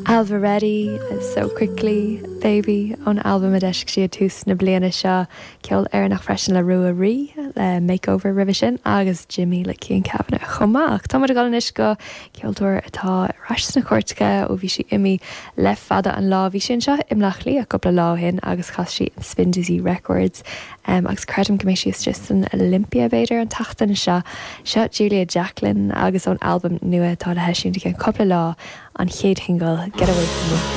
Ailbhe Reddy, So Quickly, Baby, ón albam a d'eisigh sí ag tús na bliana seo. Ceol Éireannach freisin le Rua Rí, le Makeover roimhe sin, agus Jimmy le Cian Kavanagh chomh maith. Ach tá muid ag dul anois go ceoltóir atá ar ais sna cairteacha ó bhí sí imithe le fada an lá. Bhí sí anseo i mBleá Cliath cúpla lá ó shin agus chas sí in Spindizzy Records agus creidim go mbeidh sí istigh san Olympia b'fhéidir an tseachtain seo. Seo Julia Jacklin agus ón albam nua atá le heisiúint i gceann cúpla lá, an chéad shingil, Get Away From Me.